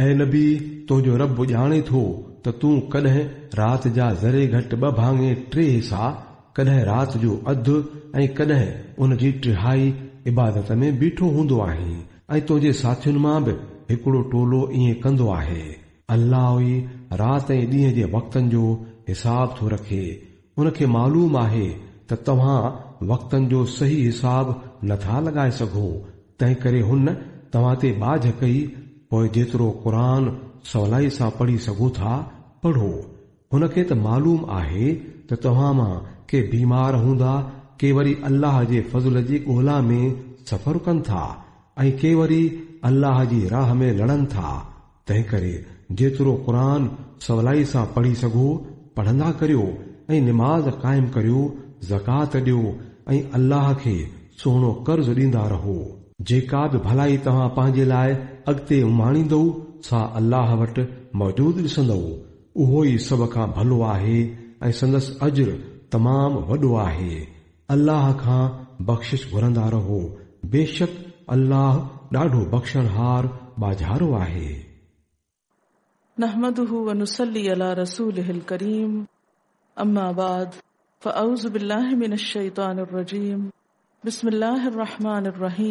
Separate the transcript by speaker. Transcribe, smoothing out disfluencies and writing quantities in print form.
Speaker 1: اي نبي! تنهنجو رب ڄاڻي ٿو ته تون ڪڏهن رات جا ذري گهٽ ٻه ڀاڱي ٽي حصا، ڪڏهن رات جو اڌ ۽ ڪڏهن ان جي ٽهائي عبادت ۾ بيٺو هوندو آهين ۽ تنهنجي ساٿين مان به هڪڙو ٽولو ائين ڪندو آهي. الله ئي رات ۽ ڏينهن جي وقتن جو حساب ٿو رکي. ان کي معلوم آهي ته توهان وقتن جو صحيح حساب نٿا لڳائي سگهو، تنهنڪري هن توهان تي ٻاجهه ڪئي، پوء جيترو قرآن سولائي سان پڙهي سگهو ٿا، پڙهو. هن کي ته معلوم آهي ته توهان مان ڪي بيمار هوندا، ڪي وري الله جي فضل جي ڳولا ۾ سفر ڪن ٿا ۽ ڪي وري الله جي راهه ۾ لڙن ٿا، تنهنڪري جيترو قرآن سولائي سان پڙهي سگهو، پڙهندا ڪريو ۽ نماز قائم ڪريو، زڪوات ڏيو ۽ الله کي سهڻو قرض ڏيندا رهو. جيڪا به ڀلائي توهان پنهنجي لاء اڳتي اماڻيندؤ، سا الله وٽ موجود ڏسندؤ. اهو ئي سڀ کان ڀلو آهي ۽ سندس اجر تمام وڏو آهي. الله کان بخشش گهرندا رهو، بيشڪ الله ڏاڍو بخشڻهار ٻاجهارو آهي.
Speaker 2: نحمده ونصلي علي رسوله الڪريم اما بعد فاعوذ بالله من الشيطان الرجيم بسم الله الرحمن الرحيم.